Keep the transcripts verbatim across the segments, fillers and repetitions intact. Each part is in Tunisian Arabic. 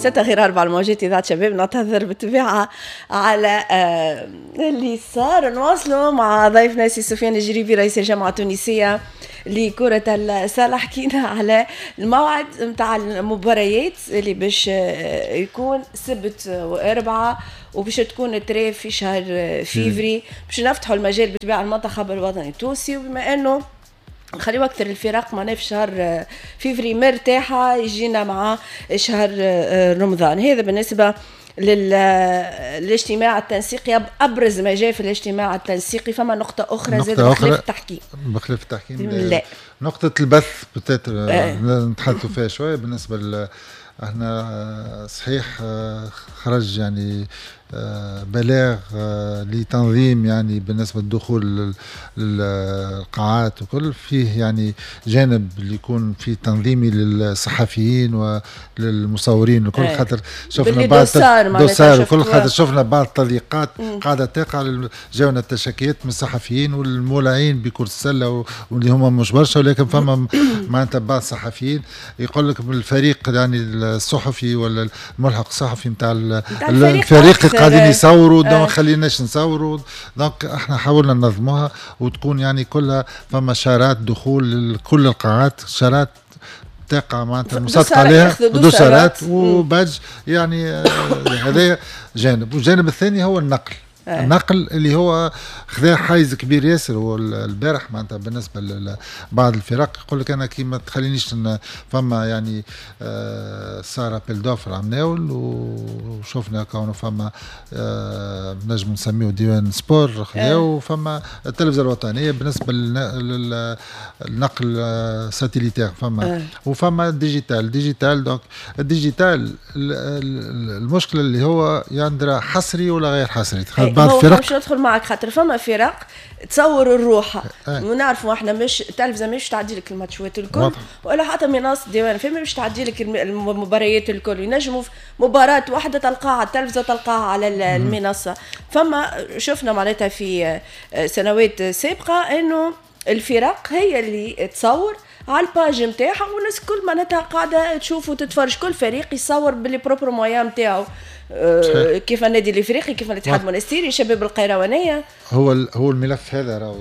ستة غير أربعة الموجات إذاعة شباب. نعتذر بالطبيعة على آه، اللي صار. نواصلوا مع ضيفنا سي سفيان الجريبي، رئيس الجامعة التونسية لكرة السلة. حكينا على الموعد نتاع المباريات اللي باش آه، يكون سبت وأربعة، وباش تكون trêve في شهر فيفري، باش نفتحوا المجال بالطبيعة المنتخب الوطني التونسي. وبما انه نخليو اكثر الفرق معناها في شهر آه، فيفري مرتاحه، يجينا مع شهر آه، رمضان. هذا بالنسبة للاجتماع التنسيقي، ابرز ما جاء في الاجتماع التنسيقي. فما نقطة اخرى زاد بخلاف التحكيم؟ بخلاف التحكيم لا، نقطة البث peut-être آه. نتحدثوا فيها شويه. بالنسبة ل احنا صحيح خرج يعني آه، بلاغ آه، لتنظيم يعني بالنسبة للدخول للقاعات وكل، فيه يعني جانب اللي يكون فيه تنظيمي للصحفيين وللمصورين وكل، إيه. خاطر شفنا بعض dossard وكل، خاطر شفنا بعض التضييقات قاعدة تقع. جاونا التشكيات من الصحفيين والمولعين بكرة السلة، واللي هما مش برشا، ولكن فما معناتها بعض الصحفيين يقول لك الفريق يعني الصحفي ولا الملحق الصحفي نتاع الفريق قاعدين يصوروا، donc ما خليناش نصوروا. donc احنا حاولنا ننظموها وتكون يعني كلها فما شارات دخول لكل القاعات، شارات تقع معناتها مصادقه عليها، دوسارات و badge. يعني آه، هذا جانب، والجانب الثاني هو النقل آه. النقل اللي هو خذا حيز كبير ياسر. هو البارح معناتها بالنسبة لبعض الفرق يقول لك انا كي ما تخلينيش، فما يعني آه، صار appel d'offres عمناول، وشفنا كونه فما آه، نجم نسميه ديوان sport خذاو، وفما التلفزة الوطنية بالنسبة للنقل satellitaire، فما وفما digital digital donc ال digital المشكلة اللي هو يندرى حصري ولا غير حصري. بعض الفرق مش ندخل معك، خاطر فما فرق تصور الروحه أه. ونعرفوا احنا مش التلفزة مش تعدي لك الماتشات الكل، ولا حتى منصة ديوان فما مش تعدي لك المباريات الكل. ينجموا مباراة واحدة تلقاها على التلفزة تلقاها على المنصه. فما شفنا معناتها في سنوات سابقه انه الفرق هي اللي تصور على ال page نتاعها، والناس الكل معناتها قاعدة تشوف وتتفرج، كل فريق يصور ب les propres moyens نتاعو، آه، كيف النادي الافريقي، كيف الاتحاد المونستيري، شباب القيروانيه. هو هو الملف هذا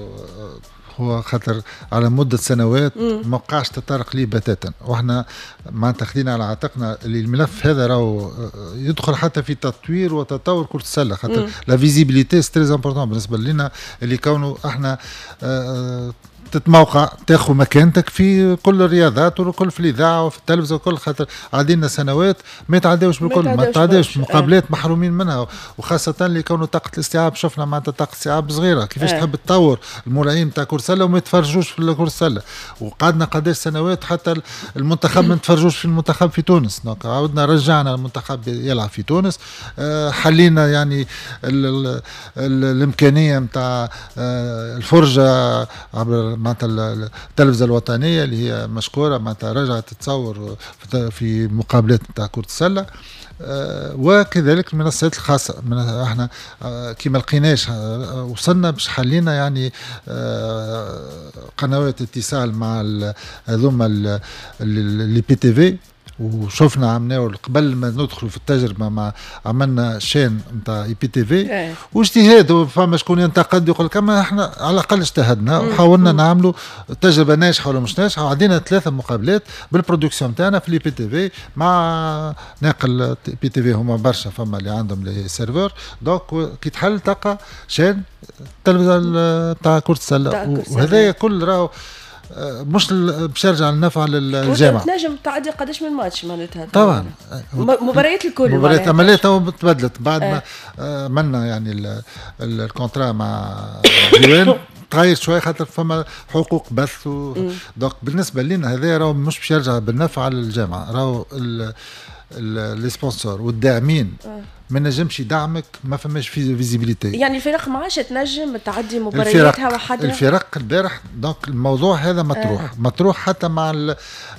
هو خاطر على مدة سنوات ما وقعش تطرق ليه بتاتا، واحنا معناتها خدينا على عاتقنا اللي الملف هذا راهو يدخل حتى في تطوير وتطور كرة السلة، خاطر la visibilité c'est très important بالنسبة لنا، اللي كونه احنا آه، تتموقع، تاخذ مكانتك في كل الرياضات وكل، في الاذاعة وفي التلفزة وكل، خاطر عدينا سنوات ما يتعداوش بالكل، ما يتعداوش مقابلات محرومين منها، وخاصة اللي كونه طاقة الاستيعاب، شفنا معناتها طاقة الاستيعاب صغيره، كيفاش اه. تحب تطور المولعين تاع كره سله وما يتفرجوش في كره السله؟ وقعدنا قداش سنوات حتى المنتخب ما نتفرجوش في المنتخب في تونس. donc عاودنا رجعنا المنتخب يلعب في تونس، آه، حلينا يعني ال ال ال الامكانية نتاع آه، الفرجة عبر معناتها التلفزة الوطنية اللي هي مشكوره، معناتها رجعت تصور في مقابلات نتاع كره السله، آه، وكذلك المنصات الخاصه. من احنا آه، كي ما لقيناش آه، وصلنا باش حلينا يعني قنوات اتصال مع هذوما les IPTV، وشفنا عملناه قبل ما ندخلوا في التجربة مع عملنا chaîne نتاع IPTV واجتهاد. فما شكون ينتقد يقول لك، اما احنا على الاقل اجتهدنا وحاولنا نعملوا تجربه، ناجحة ولا مش ناجحه. عدينا ثلاثة مقابلات بال production تاعنا في l'IPTV مع ناقل IPTV، هما برشا فما اللي عندهم les serveurs، donc كي تحل تلقى chaîne التلفزة تاع كره السله، وهذايا كل راهو مش باش يرجع النفع للجامعه. تنجم تعدي قداش من ماتش معناتها؟ طبعا. مباريات الكل. مباريات، اما لا تو تبدلت بعد ما آه. عملنا يعني ال contrat مع ديوان، تغير شوية خاطر فما حقوق بث و... donc بالنسبة لنا هذا راهو مش باش يرجع بالنفع على الجامعه، راهو les sponsors والداعمين. آه. ما نجمش يدعمك، ما فماش في visibilité. يعني الفرق ما عادش تنجم تعدي مبارياتها وحدها. الفرق البارح donc الموضوع هذا مطروح آه. مطروح حتى مع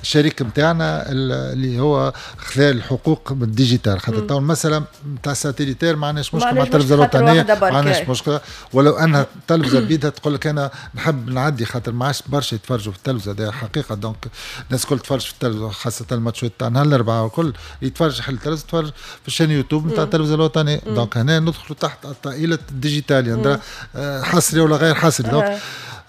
الشريك نتاعنا اللي هو خذا الحقوق بال digital، خاطر تو المسالة نتاع satellitaire ما عندناش مشكلة مع التلفزة الوطنية، ما عندناش مشكلة، ولو انها التلفزة بيدها تقول لك انا نحب نعدي، خاطر ما عادش برشا يتفرجوا في التلفزة، هذه حقيقة. donc الناس الكل تفرج في التلفزة، خاصة الماتشات تاع نهار الاربعاء والكل يتفرج حل التلفزة، يتفرج في ال chaîne YouTube نتاع التلفزة الوطنية. donc هنا ندخلوا تحت طائلة ال digital، يعني حصري ولا غير حصري. donc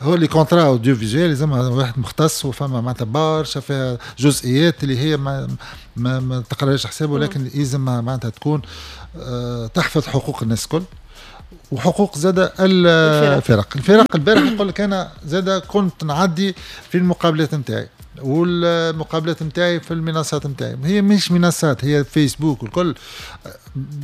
هو les contrats audiovisuels لازم واحد مختص، وفما معناتها برشا فيها جزئيات اللي هي ما ما, ما تقراش حسابه، ولكن لازم معناتها تكون تحفظ حقوق الناس الكل وحقوق زاد الفرق. الفرق البارح يقول لك انا زاد كنت نعدي في المقابلات نتاعي، والمقابلات نتاعي في المنصات نتاعي، هي مش منصات، هي فيسبوك والكل.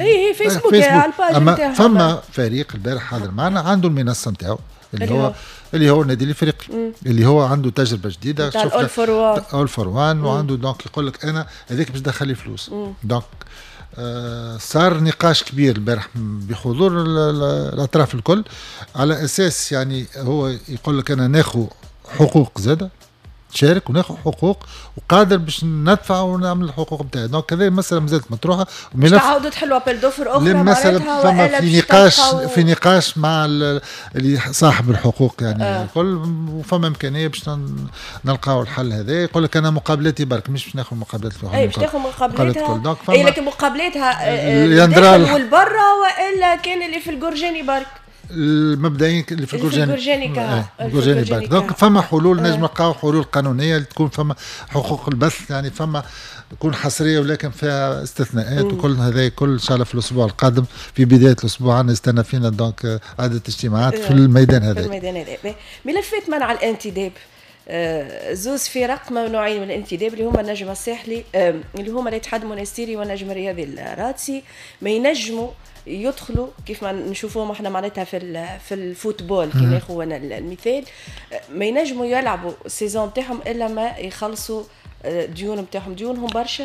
اي هي فيسبوك, فيسبوك. على ال page نتاعها. فما فريق البارح حاضر معنا عنده المنصة نتاعو اللي هو اللي هو النادي الافريقي، اللي هو عنده تجربه جديدة، شفنا All for One، All for One، وعنده donc يقول لك انا هذاك باش دخل لي فلوس. donc آه صار نقاش كبير البارح بحضور الاطراف الكل، على اساس يعني هو يقول لك انا ناخذ حقوق زاده، شارك وناخذ حقوق وقادر باش ندفع ونعمل الحقوق نتاعي. donc هذه المسالة مازالت مطروحة. مش تعاودوا تحلوا appel d'offres اخرى معناتها، فما في نقاش في نقاش مع اللي صاحب الحقوق يعني آه. الكل، وفما امكانية باش نلقاو الحل هذا. يقول لك انا مقابلاتي برك، مش باش ناخذ مقابلات اي باش تاخذ مقابلاتها، اي لكن مقابلاتها الداخل والبرا، والا كان اللي في الجرجاني برك؟ المبدئيا اللي في الجرجاني الجرجاني برك. donc فما حلول نجم نلقاو حلول قانونية اللي تكون فما حقوق البث، يعني فما تكون حصرية ولكن فيها استثناءات وكل هذا كل ان شاء الله في الاسبوع القادم، في بداية الاسبوع نستنى فينا donc عده اجتماعات في الميدان هذا. في الميدان هذا ملفات منع الانتداب، زوز فرق ممنوعين من الانتداب اللي هما النجم الساحلي، اللي هما الاتحاد المونستيري والنجم الرياضي الرادسي، ما ينجموا يدخلوا كيف ما نشوفوهم احنا معناتها في في ال football كي ناخذ انا المثال، ما ينجموا يلعبوا ال saison تاعهم الا ما يخلصوا ديون نتاعهم. ديونهم برشا،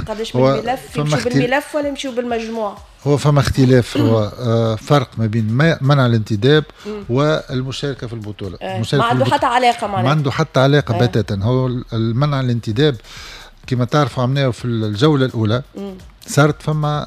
قداش من ملف يمشوا بالملف ولا يمشوا بالمجموع؟ هو فما اختلاف، هو فرق ما بين منع الانتداب والمشاركة في البطولة. ما عنده حتى علاقة معناتها، ما عنده حتى علاقة بتاتا. هو المنع الانتداب كما تعرفوا عملناه في الجولة الاولى، صارت فما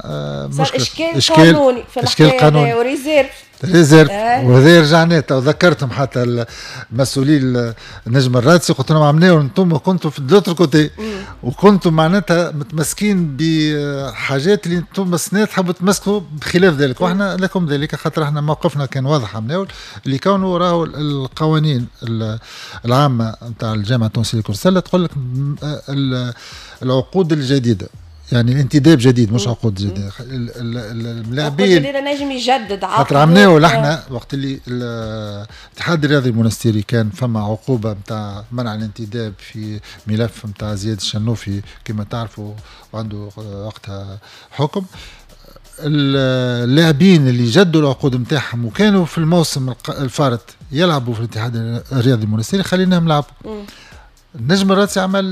مشكلة، اشكال, إشكال قانوني في اشكال قانوني و réserve réserve آه. وهذا رجعنا ذكرتهم حتى المسؤولين النجم الرادسي، قلت لهم عملناه انتم كنتوا في l'autre côté، وكنتم معناتها متمسكين بحاجات اللي انتم سنة تحبوا تمسكوا بخلاف ذلك، واحنا لكم ذلك، خاطر احنا موقفنا كان واضح عملناه اللي كانوا راهو القوانين العامة نتاع الجامعة التونسية لكرة السلة تقول لك العقود الجديدة، يعني الانتداب جديد مش عقود جديدة، الملاعبين الجديدة نجم يجدد عقد. خاطر عملناه احنا وقت اللي الاتحاد الرياضي المونستيري كان فما عقوبه نتاع منع الانتداب في ملف نتاع زياد الشنوفي كما تعرفوا، وعنده وقتها حكم. اللاعبين اللي جدوا العقود نتاعهم وكانوا في الموسم الفارط يلعبوا في الاتحاد الرياضي المونستيري خليناهم يلعبوا. النجم الرادسي عمل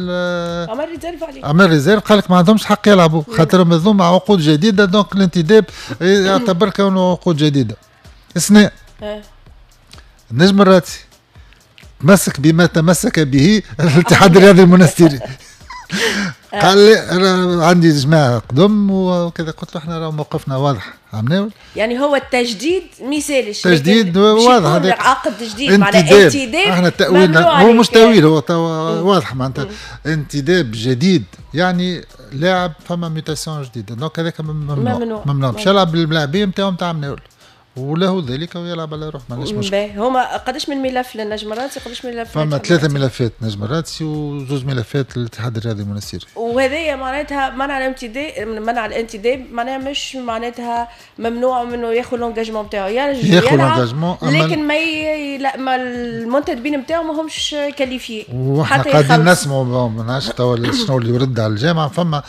عمل réserve عليه، عمل réserve، قال لك ما عندهمش حق يلعبوا خاطر هذوما عقود جديدة، donc الانتداب يعتبر كونه عقود جديدة. اثناء النجم الرادسي تمسك بما تمسك به الاتحاد الرياضي المونستيري، قال لي انا عندي جماعة قدم وكذا، قلت له احنا راه موقفنا واضح عملناه. يعني هو التجديد ما يسالش، تجديد واضح، هذا عقد جديد معناها انتداب، احنا تأويلنا هو مش تأويل، هو واضح معناتها انتداب جديد، يعني لاعب فما mutation جديدة، donc هذاك ممنوع ممنوع باش يلعب باللاعبين نتاعو نتاع مناول، وله ذلك ويلعب على روحه، ما عندناش مشكل. هما قداش من ملف للنجم الرادسي؟ قداش من ملف؟ فما ثلاثة ملفات نجم الرادسي وزوج ملفات للاتحاد الرياضي المونستيري. وهذايا معناتها منع الانتداب، منع الانتداب معناها مش معناتها ممنوع منه ياخذ l'engagement نتاعو، ياخذ l'engagement لكن ما ي... لا ما المنتدبين نتاعو ماهمش qualifiés. وحنا قاعدين نسمعوا ما نعرفش توا شنو اللي يرد على الجامعة، فما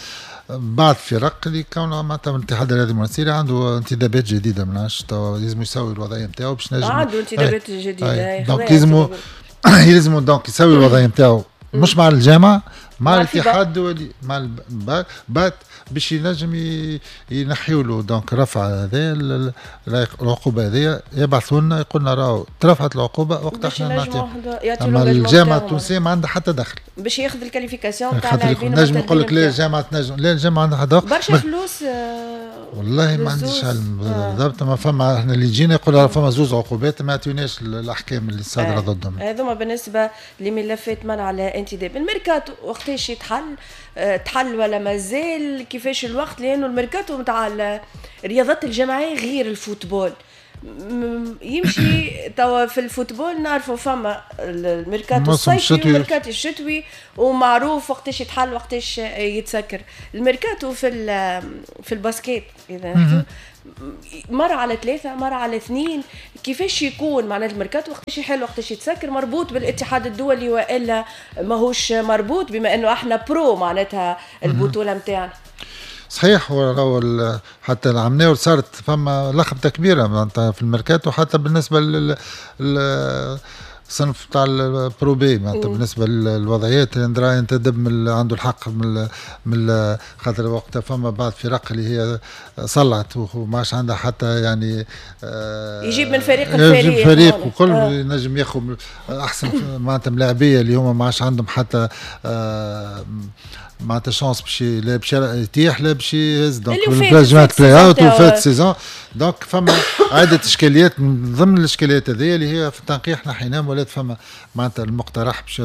بعض فرق اللي كون معناتها الاتحاد الرياضي المونستيري عنده انتدابات جديدة، ما نعرفش توا لازم يسوي الوضعية نتاعو باش نجم عنده انتدابات جديدة، donc لازم يلزمو donc يسوي الوضعية نتاعو مش مع الجامعة، مع الاتحاد الدولي، مع ال BAT باش ينجم ينحيوا له donc رفع هذا العقوبة هذه، يبعثوا لنا يقول لنا راهو ترفعت العقوبة وقت احنا نعطيو. اما الجامعة التونسية ما عندها حتى دخل باش ياخذ ال qualification تاع اللاعبين. نجم يقول لك لا الجامعة تنجم، لا الجامعة عندها حتى دخل. برشا فلوس. والله ما عنديش علم بالضبط، ما فما احنا اللي جينا يقول فما زوز عقوبات ما يعطيوناش الاحكام اللي صادرة ضدهم. هذوما بالنسبة لملفات منع الانتداب. الميركاتو وقتاش يتحل؟ تحل ولا مازال؟ كيفاش الوقت؟ لانه الميركاتو نتاع الرياضات الجماعية غير ال football. يمشي توا في ال football نعرفوا فما الميركاتو الصيفي والميركاتو الشتوي ومعروف وقتاش يتحل وقتاش يتسكر. الميركاتو في في ال basket اذا مرة على ثلاثة مرة على اثنين، كيفاش يكون معناتها الميركاتو وقتاش يحل وقتاش يتسكر؟ مربوط بالاتحاد الدولي والا ماهوش مربوط بما انه احنا pro معناتها البطولة نتاعنا؟ صحيح، هو حتى العمناول صارت فما لخبطة كبيرة معناتها في الميركاتو، حتى بالنسبة لل الصنف تاع ال pro B معناتها بالنسبة للوضعيات اللي ينتدب من عنده الحق من من خاطر وقتها فما بعض فرق اللي هي صلعت وما عادش عندها حتى يعني آه يجيب من فريق الفريق يجيب فريق وكل آه. ينجم ياخذ احسن معناتها ملاعبيه اللي هما ما عادش عندهم حتى آه معناتها chance باش لا باش يتيح لا باش يهز donc جماعة play-out وفات saison. donc فما عده اشكاليات، من ضمن الاشكاليات هذه اللي هي في التنقيح نحيناهم، ولات فما معناتها المقترح باش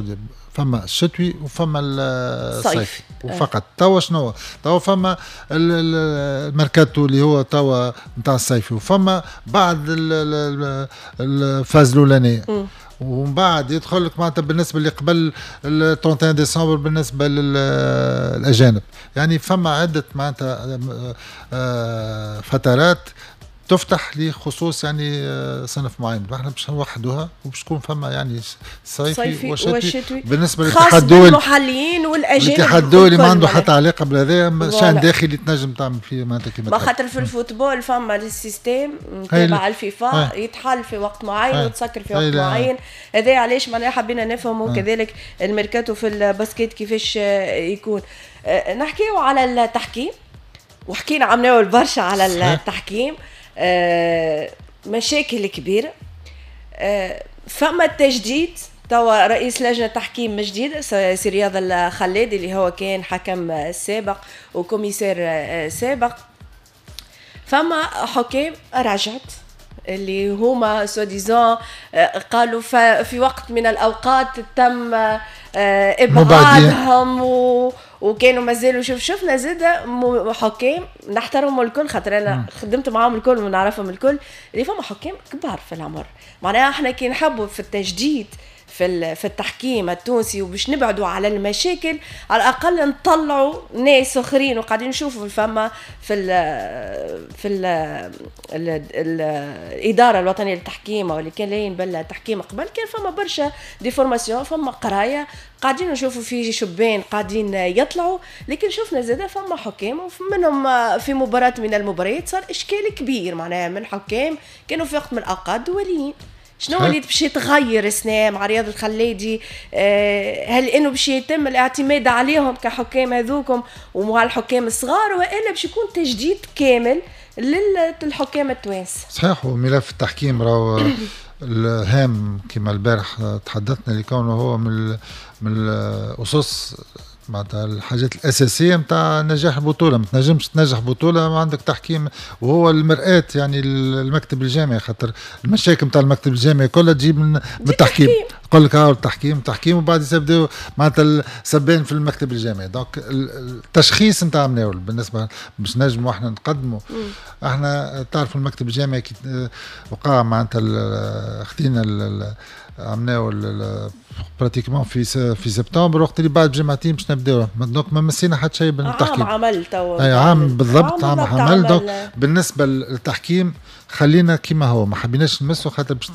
فما الشتوي وفما الصيفي وفقط. توا شنو؟ توا فما الميركاتو اللي هو توا نتاع الصيفي، وفما بعد ال phase الاولانية، ومن بعد يدخل لك معناتها بالنسبة اللي قبل ثلاثة وثلاثين ديسمبر بالنسبة للاجانب. يعني فما عده معناتها فترات تفتح لخصوص يعني صنف معين، احنا باش نوحدوها وباش تكون فما يعني صيفي وشتوي بالنسبة للاتحاد الدولي، المحليين والاجانب. الاتحاد الدولي ما عنده حتى علاقة بهذا، شان داخلي تنجم تعمل فيه معناتها كيما ما خاطر في ال football فما ال système تبع الفيفا يتحل في وقت معين وتسكر في وقت معين. هذا علاش معناها حبينا نفهموا كذلك الميركاتو في ال basket كيفاش يكون. نحكيو على التحكيم، وحكينا عمناول برشا على التحكيم، آه، مشاكل كبيرة. آه، فما التجديد توا رئيس لجنة تحكيم جديد سي رياض الخلادي اللي هو كان حكم سابق و commissaire سابق. فما حكام رجعت اللي هما soi-disant قالوا في وقت من الأوقات تم إبعادهم و وكانوا مازالوا شوف شفنا زاد حكام نحترمهم الكل خاطر انا خدمت معاهم الكل ونعرفهم الكل، اللي فما حكام كبار في العمر. معناها احنا كي نحبوا في التجديد في في التحكيم التونسي وباش نبعدوا على المشاكل، على الاقل نطلعوا ناس اخرين. وقاعدين نشوفوا فما في ال في ال ال الادارة الوطنية للتحكيم او اللي كان لاين بالتحكيم قبل، كان فما برشا des formations، فما قرايه، قاعدين نشوفوا في شبان قاعدين يطلعوا. لكن شفنا زاده فما حكام ومنهم في مباراة من المباريات صار اشكال كبير معناها من حكام كانوا في وقت من الاوقات دوليين. شنو اللي باش يتغير السنة مع رياض الخلادي؟ آه هل انه باش يتم الاعتماد عليهم كحكام هذوكم ومع الحكام الصغار، والا باش يكون تجديد كامل للحكام التوانسة؟ صحيح، وملف التحكيم راهو الهام كما البارح تحدثنا لكونه هو من من الاسس معناتها الحاجات الاساسية نتاع نجاح البطولة. ما تنجمش تنجح بطوله ما عندك تحكيم، وهو المرآة يعني المكتب الجامعي، خاطر المشاكل نتاع المكتب الجامعي كلها تجيب من, من التحكيم. يقول لك هاو التحكيم التحكيم وبعد يبداو معناتها السبان في المكتب الجامعي. donc التشخيص نتاع مناول بالنسبة باش نجموا احنا نقدموا، احنا تعرفوا المكتب الجامعي كي وقع معناتها خدينا عملناه pratiquement في في سبتمبر، وقت اللي بعد بجمعتين باش نبداو، donc ما مسينا حتى شيء بالتحكيم. عام عمل توا، اي عام بالضبط، عام عمل. donc بالنسبة للتحكيم خلينا كيما هو، ما حبيناش نمسو خاطر باش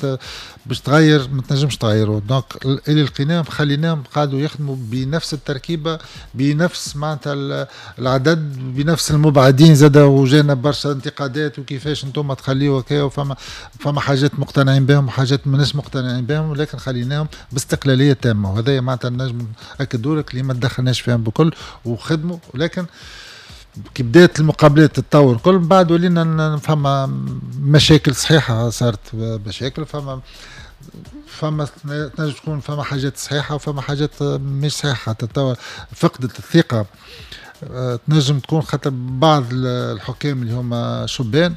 باش تغير ما تنجمش تغيره. donc اللي لقيناهم خليناهم قعدوا يخدموا بنفس التركيبة، بنفس معناتها العدد، بنفس المبعدين زاد. وجانا برشا انتقادات وكيفاش انتم تخليوا هكا، وفما فما حاجات مقتنعين بهم وحاجات ماناش مقتنعين بهم، ولكن خليناهم باستقلاليه تامة. وهذا معناتها نجم ناكدوا لك اللي ما تدخلناش فيهم بكل وخدموا. ولكن كي بدات المقابلات تتطور كل من بعد ولينا فما مشاكل صحيحه، صارت مشاكل، فما فما تنجم تكون فما حاجات صحيحه وفما حاجات مش صحيحه. تتطور فقدت الثقة، تنجم تكون خاطر بعض الحكام اللي هما شبان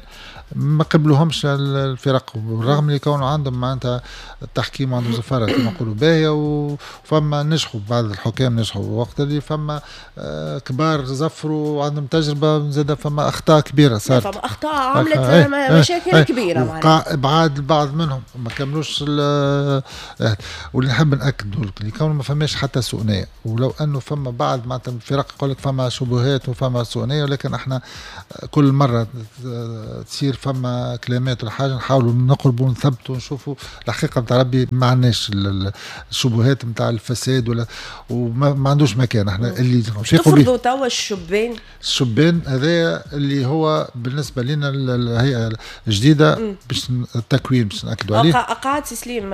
ما قبلوهمش الفرق، بالرغم اللي كانوا عندهم معناتها التحكيم وعندهم زفاره كما نقولوا باهيه، وفما نجحوا بعض الحكام نجحوا وقت اللي فما كبار زفروا وعندهم تجربه، زاد فما اخطاء كبيرة صارت، فما اخطاء عملت مشاكل كبيرة معناتها، ابعاد البعض منهم ما كملوش. واللي نحب ناكدوا لك اللي كانوا ما فماش حتى سوء نيه، ولو انه فما بعض معناتها الفرق يقول لك فما شبهات وفما سوء نيه، ولكن احنا كل مرة تصير فما كلمات ولا حاجة نحاولوا نقربوا ونثبتوا ونشوفوا الحقيقة نتاع ربي. ما عندناش الشبهات نتاع الفساد ولا وما ما عندوش مكان. احنا اللي تفرضوا توا الشبان، الشبان هذا اللي هو بالنسبة لنا الهيئة الجديدة باش التكوين باش ناكدوا عليه. قعد سي سليم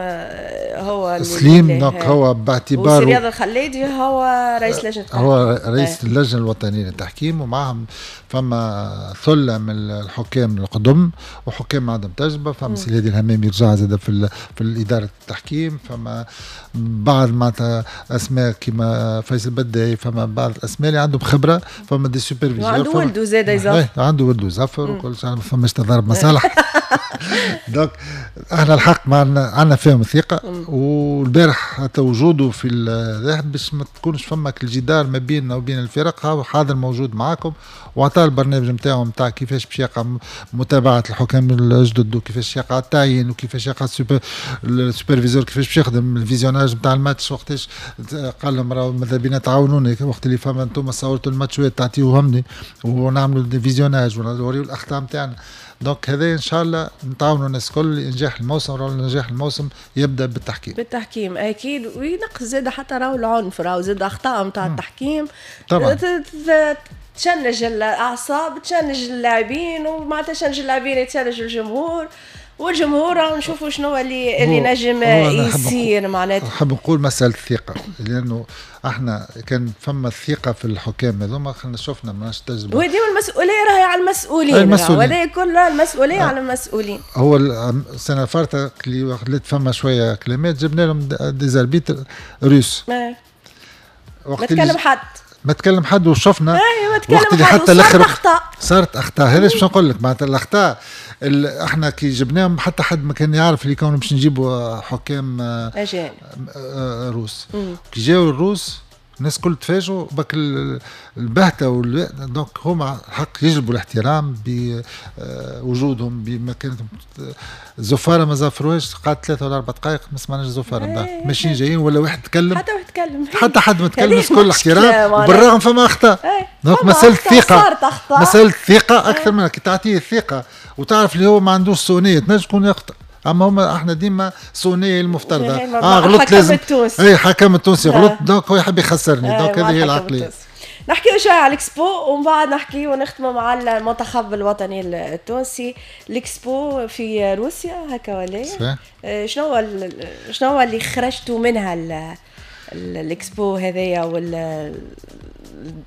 هو سليم، donc هو باعتباره رياض الخليدي هو رئيس لجنة، هو رئيس اللجنة الوطنية للتحكيم، ومعهم فما ثلة من الحكام القدم وحكام عندهم تجربه. فما سي الهادي الهمامي رجع زاد في في الادارة التحكيم، فما بعض معناتها اسماء كيما فيصل بداي، فما بعض الاسماء اللي عندهم خبره، فما des superviseurs، عنده ولده زاد يزفر، عنده ولده يزفر وكل شيء، ما فماش تضارب مصالح. donc احنا الحق ما عندنا فيهم الثقة. والبارح حتى وجوده في باش ما تكونش فما الجدار ما بيننا وبين الفرق، حاضر موجود معاكم وعطى البرنامج نتاعو نتاع كيفاش باش يقع متابعه الحكام الجدد، وكيفاش يقع التعيين، وكيفاش يقع ال superviseur، كيفاش باش يخدم ال visionnage نتاع الماتش. وقتاش قال لهم راهو ماذا بينا تعاونوني وقت اللي فما انتم صورتوا الماتشات تعطيوهم لي ونعملوا des visionnages ونوريو الاخطاء نتاعنا. donc هذا ان شاء الله نتعاونوا الناس الكل لانجاح الموسم. راهو نجاح الموسم يبدا بالتحكيم، بالتحكيم اكيد، وينقص زاد حتى راهو العنف، راهو زاد اخطاء نتاع التحكيم طبعا تشنج الاعصاب، تشنج اللاعبين، ومعناتها تشنج اللاعبين يتشنج الجمهور، والجمهور نشوفوا شنو اللي اللي نجم يصير. معناتها نحب نقول مسالة الثقة، لانه احنا كان فما الثقة في الحكام هذوما، خلينا شفنا ماناش تجربه، وديما المسؤولية راهي على المسؤولين، وهذا كله المسؤولية آه. على المسؤولين. هو السنة الفارطه اللي خلت فما شوية كلمات جبنا لهم des arbitres russes، ما تكلم حد، ما تكلم حد، وشفنا وقت اللي حتى الاخر اخطاء صارت اخطاء. هذا باش نقول لك معناتها الاخطاء احنا كي جبناهم حتى حد ما كان يعرف اللي كانوا باش نجيبوا حكام اجانب روس. كي جاوا الروس الناس الكل تفاجئوا بك البهته وال... donc هما الحق يجلبوا الاحترام بوجودهم بمكانتهم. الزفاره ما زفروهاش، قعدت ثلاثة ولا أربع دقائق ما سمعناش الزفاره، ماشيين جايين ولا واحد تكلم، حتى واحد تكلم، حتى حد ما تكلم، الناس الكل احترام، بالرغم فما اخطاء. donc مسالة الثقة، مسالة الثقة اكثر من كي تعطيه الثقة وتعرف اللي هو ما عندوش سوء نيه تنجم تكون يخطأ. اما هما احنا ديما سونيه المفترضه، اه غلطت لازم اي حكم التونسي غلط donc هو يحب يخسرني، donc هذه هي العقلية. نحكيو شوية على الاكسبو ومن بعد نحكيو ونختموا مع المنتخب الوطني التونسي. الاكسبو في روسيا هكا ولا شنو هو شنو هو اللي خرجتوا منها الاكسبو هذايا ولا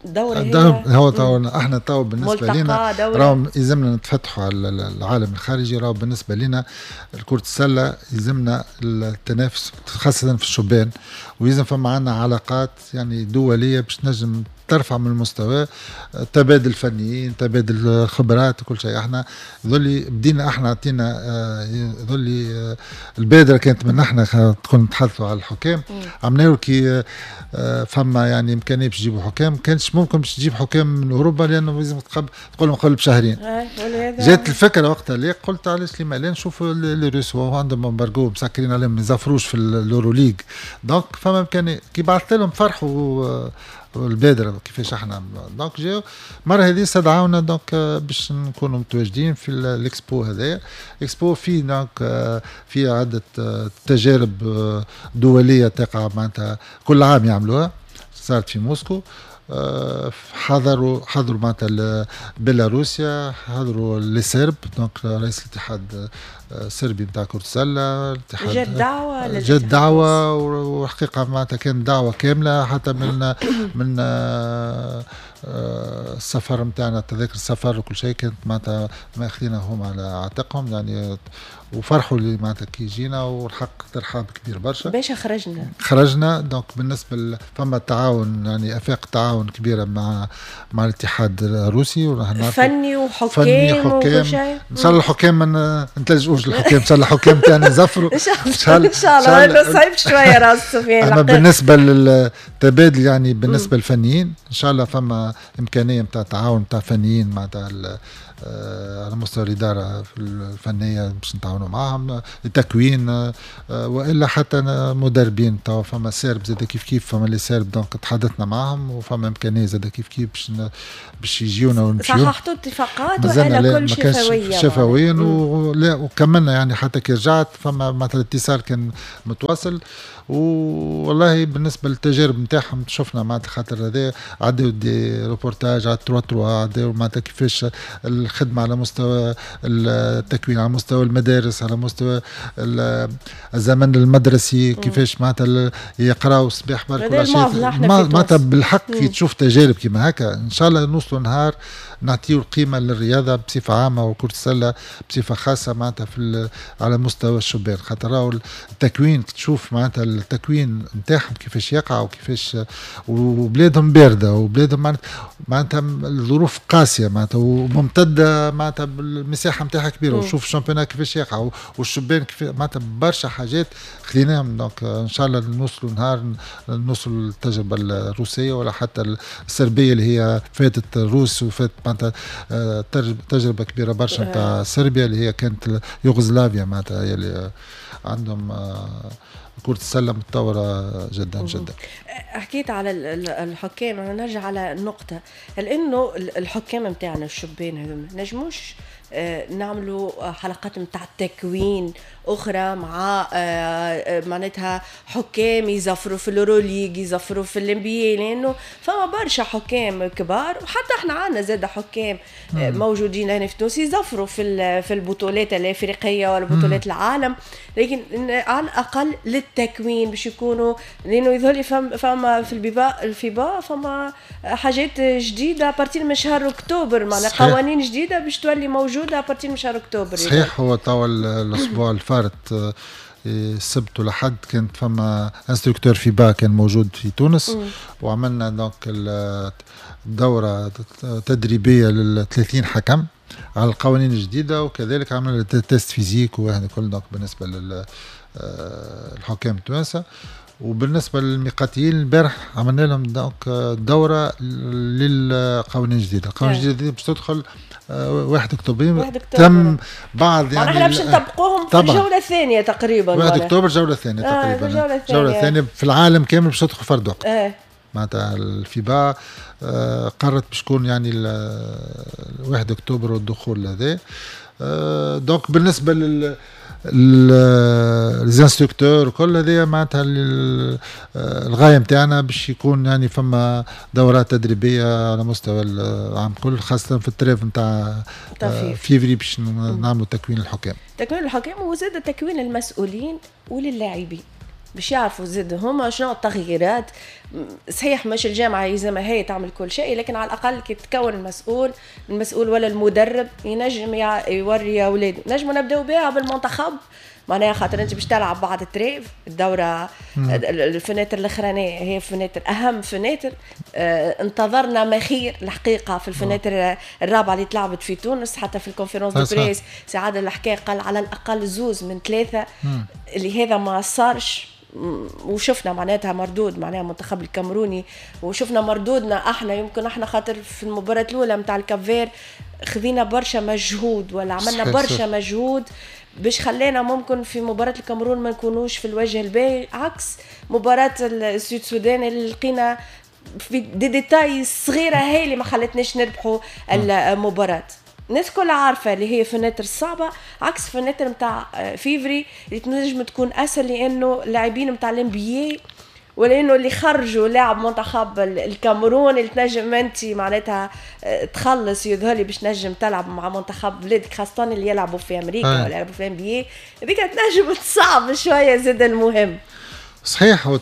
الدورة؟ هو تو احنا تو بالنسبة لنا راهو يلزمنا نتفتحوا على العالم الخارجي. راهو بالنسبة لنا كرة السلة يلزمنا التنافس خاصة في الشبان، ويلزم فما عندنا علاقات يعني دولية باش نجم ترفع من المستوى، تبادل فنيين، تبادل خبرات وكل شيء. احنا ذولي بدينا احنا عطينا ذولي البادرة كانت من احنا كنا نتحدثوا على الحكام، عملنا كي فما يعني امكانية باش تجيبوا حكام، كانش ممكن باش تجيب حكام من اوروبا لانه لازم تقول لهم قبل بشهرين. جات الفكرة وقتها اللي قلت علاش لما لا نشوفوا les Russes عندهم embargo مسكرين عليهم ما يزفروش في l'Euroleague، donc فما امكانية. كي بعثت لهم فرحوا البادرة كيفاش احنا donc جاو المرة هذه استدعونا donc باش نكونوا متواجدين في الاكسبو هذايا. اكسبو فيه donc في عده تجارب دولية تقع معناتها كل عام يعملوها، صارت في موسكو. حضروا حضروا معناتها بيلاروسيا، حضروا les Serbes donc رئيس الاتحاد الصربي نتاع كرة السلة، الاتحاد جات دعوة، جات دعوة وحقيقة معناتها كانت دعوة كاملة حتى من من السفر نتاعنا، تذاكر السفر وكل شيء كانت معناتها ماخذينها هم على عاتقهم يعني، وفرحوا اللي معناتها كي جينا، والحق ترحاب كبير برشا. باش خرجنا خرجنا donc بالنسبة فما تعاون يعني افاق تعاون كبيرة مع مع الاتحاد الروسي، فني وحكام فني حكام. ان شاء الله الحكام ما نتلجؤوش للحكام، ان شاء الله الحكام تاعنا يزفروا ان شاء الله ان شاء الله صعيب شوية راس سفيان. اما بالنسبة للتبادل يعني بالنسبة للفنيين ان شاء الله فما امكانية نتاع تعاون نتاع فنيين معناتها على مستوى الادارة الفنية باش نتعاونوا معاهم التكوين، والا حتى مدربين توا فما Serbes زاد كيف كيف، فما les Serbes donc تحدثنا معاهم وفما امكانية زاد كيف كيف باش باش يجيونا ونمشيو. صححتوا اتفاقات والا كل شفويه؟ شفويا ولا وكملنا يعني حتى كي رجعت فما مثلا اتصال كان متواصل. والله بالنسبة للتجارب نتاعهم شفنا معناتها خاطر هذا عداو des reportages على trois trois، عداو معناتها كيفاش الخدمة على مستوى التكوين، على مستوى المدارس، على مستوى الزمن المدرسي، كيفاش معناتها يقراو الصباح برك ولا شيء معناتها بالحق كي تشوف تجارب كيما هكا ان شاء الله نوصلوا نهار نعطيو القيمة للرياضة بصفة عامة وكره السلة بصفة خاصة معناتها في على مستوى الشبان، خاطر راهو التكوين تشوف معناتها التكوين نتاعهم كيفاش يقع وكيفاش، وبلادهم باردة وبلادهم معناتها الظروف قاسية معناتها وممتده معناتها المساحة نتاعها كبيرة، وشوف ال championnat كيفاش يقع والشبان كيف معناتها برشا حاجات خليناهم. donc ان شاء الله نوصلوا نهار نوصلوا للتجربه الروسية ولا حتى الصربيه اللي هي فاتت الروس وفاتت معناتها تجربه كبيرة برشا نتاع صربيا اللي هي كانت يوغوسلافيا معناتها هي اللي عندهم كرة السلة متطورة جدا جدا. حكيت على الحكام، أنا نرجع على النقطة، هل إنه الحكام نتاعنا الشبان هذوما نجموش نعملوا حلقات نتاع تكوين اخرى مع معناتها حكام يزفروا في الأوروليغ، يزفروا في ال NBA، لانه فما برشا حكام كبار، وحتى احنا عندنا زاد حكام موجودين هنا في تونس يزفروا في في البطولات الافريقية ولا بطولات العالم، لكن على الاقل للتكوين باش يكونوا، لانه يظهر لي فما في البيبا الفيبا فما حاجات جديدة à partir من شهر اكتوبر، معناها قوانين جديدة باش تولي موجودة à partir من شهر اكتوبر. صحيح، هو توا الاسبوع الفارط السبت والأحد كانت فما instructeur FIBA كان موجود في تونس، مم. وعملنا donc الدورة تدريبية لل ثلاثين حكم على القوانين الجديدة، وكذلك عملنا test physique وهذا كل donc بالنسبة للحكام التوانسة. وبالنسبة للميقاتيين البارح عملنا لهم donc دوره للقوانين الجديدة، القوانين الجديدة باش تدخل واحد أكتوبر تم بعض يعني احنا باش نطبقوهم في الجولة الثانية تقريبا، واحد أكتوبر الجولة الثانية آه تقريبا، الجولة الثانية في العالم كامل باش تدخل فرد وقت. آه. معناتها الفيبا آه قررت باش تكون يعني واحد أكتوبر والدخول هذا. آه donc بالنسبة لل les instructeurs وكل هذه معناتها الغاية نتاعنا باش يكون يعني فما دورات تدريبية على مستوى العام كل، خاصة في ال trêve نتاع فيفري باش نعملوا تكوين الحكام، تكوين الحكام وزاد تكوين المسؤولين وللاعبين باش يعرفوا زاد هما شنو التغييرات. صحيح مش الجامعة يلزمها هي تعمل كل شيء، لكن على الاقل كي تكون المسؤول، المسؤول ولا المدرب ينجم يوري اولاده. نجموا نبداو بها بالمنتخب، معناها خاطر انت باش تلعب بعد ال trêve الدورة ال fenêtre الاخرانية هي fenêtre اهم fenêtre. اه انتظرنا ما خير الحقيقة في ال fenêtre الرابعة اللي تلعبت في تونس، حتى في ال conférence de presse سي عادل الحكاية قال على الاقل زوز من ثلاثة، اللي هذا ما صارش، وشفنا معناتها مردود معناها المنتخب الكاميروني، وشفنا مردودنا احنا. يمكن احنا خاطر في المباراة الاولى نتاع ال Cap-Vert خذينا برشا مجهود ولا عملنا برشا مجهود باش خلينا ممكن في مباراة الكاميرون ما نكونوش في الوجه الباهي، عكس مباراة السود السودان اللي لقينا في des détails صغيرة هي اللي ما خلتناش نربحوا المباراة. الناس كلها عارفه اللي هي fenêtre صعبة، عكس fenêtre نتاع فيفري اللي تنجم تكون اسهل، لانه اللاعبين نتاع ال NBA ولانه اللي خرجوا لاعب منتخب الكاميرون اللي تنجم انت معناتها تخلص يظهر لي باش تنجم تلعب مع منتخب بلادك، خاصة اللي يلعبوا في امريكا ولا يلعبوا في NBA، هذيك تنجم تصعب شوية زاد المهم. صحيح، هو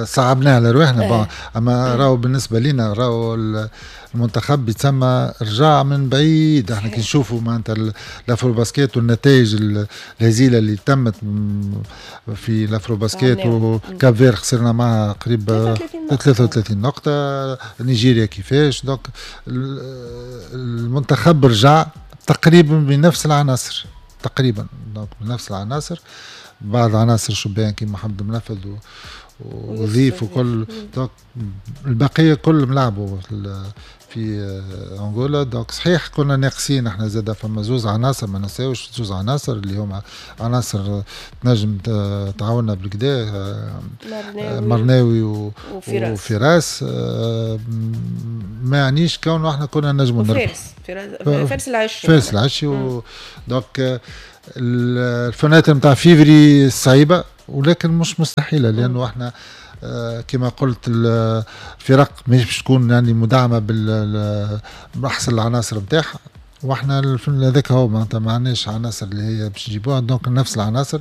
صعبناها على رواحنا، اما راهو بالنسبة لنا راهو المنتخب يتسمى رجع من بعيد. احنا كي نشوفوا معناتها l'Afrobasket والنتائج الهزيله اللي تمت في l'Afrobasket، و Cap-Vert خسرنا معها قريب ثلاثة وثلاثين نقطة، نيجيريا كيفاش. donc المنتخب رجع تقريبا بنفس العناصر، تقريبا donc بنفس العناصر، بعض عناصر شبان كيما محمد منفذ وظيف وكل، donc البقية كلهم لعبوا في انغولا. donc صحيح كنا ناقصين احنا زاد، فما زوز عناصر ما نساوش، زوز عناصر اللي هما عناصر تنجم تعاوننا بالكدا، مرناوي وفراس, وفراس ما يعنيش كونه احنا كنا نجموا نربح. فارس فارس العشي، فارس العشي و... donc ال fenêtre نتاع فيفري صعيبة ولكن مش مستحيلة، لانه احنا كما قلت الفرق مش باش تكون يعني مدعمه باحسن العناصر نتاعها، واحنا هذاك هو معناتها ما عندناش عناصر اللي هي باش نجيبوها. donc نفس العناصر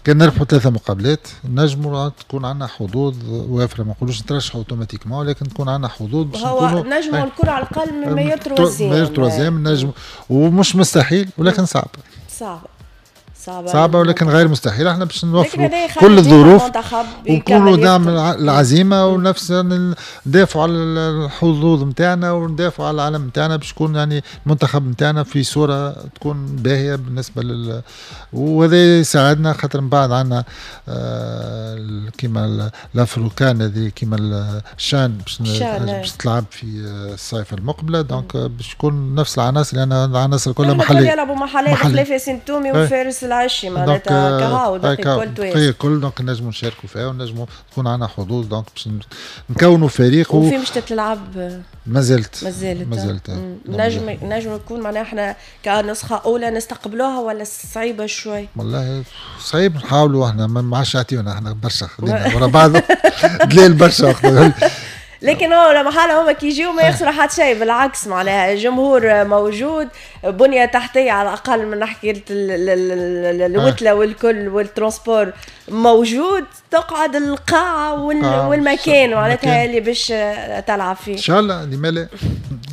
كان نربحوا ثلاثة مقابلات نجموا تكون عندنا حظوظ وافرة، ما نقولوش نترشحوا automatiquement، ولكن تكون عندنا حظوظ باش نكونوا نجموا الكره على الاقل من meilleur troisième، meilleur troisième نجموا، ومش مستحيل ولكن صعب، صعب صعبة, صعبة ولكن غير مستحيل. احنا باش نوفروا كل الظروف ونكونوا دعم العزيمة ونفس ندافعوا على الحظوظ نتاعنا وندافعوا على العالم نتاعنا باش يكون يعني المنتخب نتاعنا في صورة تكون باهية بالنسبة لل، وهذا يساعدنا خاطر من بعد عندنا آه كيما l'Afro CAN هذه، كيما الشان باش باش تلعب في الصيف المقبلة. donc باش تكون نفس العناصر، لأن العناصر كلها محلية، يلعبوا محلية بخلاف ياسين تومي وفارس العشي معناتها كهو الكل توانسة الكل. donc نجموا نشاركوا فيها ونجموا تكون عندنا حظوظ، donc باش نكونوا فريق. وفي مش تتلعب مازالت مازالت مازالت نجم نجم نكون معناها احنا كنسخه اولى نستقبلوها ولا صعيبة شوي؟ والله صعيب، نحاولوا احنا ما عادش يعطيونا احنا برشا، خدينا ورا بعض دليل برشا. لكن هو لما حالة هما كي يجيو ما يخسروا حتى شيء، بالعكس معناها الجمهور موجود، بنية تحتية على الأقل من ناحية الوتلة والكل وال transport موجود، تقعد القاعة والمكان معناتها اللي باش تلعب فيه. إن شاء الله لما لا،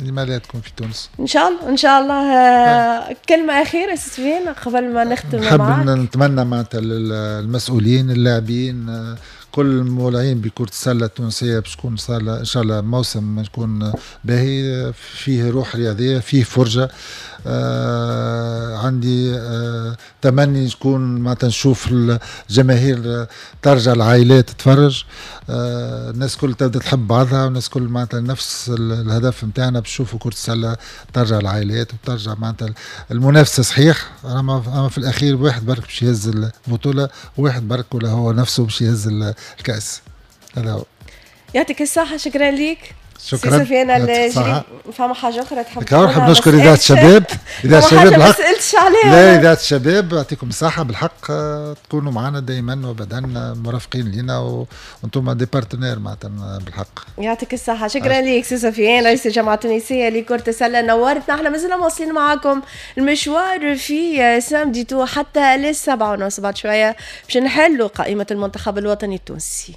لما لا تكون في تونس إن شاء الله. إن شاء الله. كلمة أخيرة سفيان قبل ما نختم معاك. نحب نتمنى معناتها للمسؤولين اللاعبين كل المولعين بكرة السلة التونسية باش تكون إن شاء الله موسم يكون باهي، فيه روح رياضية، فيه فرجة. آه عندي آه تمني نكون معناتها نشوف الجماهير ترجع، العائلات تتفرج، آه الناس كل تبدا تحب بعضها، والناس كل معناتها نفس الهدف نتاعنا باش نشوفوا كرة السلة ترجع العائلات وترجع معناتها المنافسة. صحيح اما في الاخير واحد برك باش يهز البطولة، واحد برك ولا هو نفسه باش يهز الكأس. هذا هو. يعطيك الصحة، شكرا لك. شكرا سي سفيان الجريب. فما حاجة اخرى تحب تقولها؟ نحب نشكر اذاعة الشباب، اذاعة الشباب بالحق ما سالتش عليها. لا، اذاعة الشباب يعطيكم الصحة بالحق، تكونوا معنا دائما وابدا مرافقين لنا، وانتم des partenaires معناتها بالحق. يعطيك الصحة، شكرا لك سي سفيان رئيس الجامعة التونسية لكرة السلة، نورتنا. احنا مازلنا مواصلين معاكم المشوار في samedi tout حتى للسبعة ونص بعد شوية باش نحلوا قائمة المنتخب الوطني التونسي.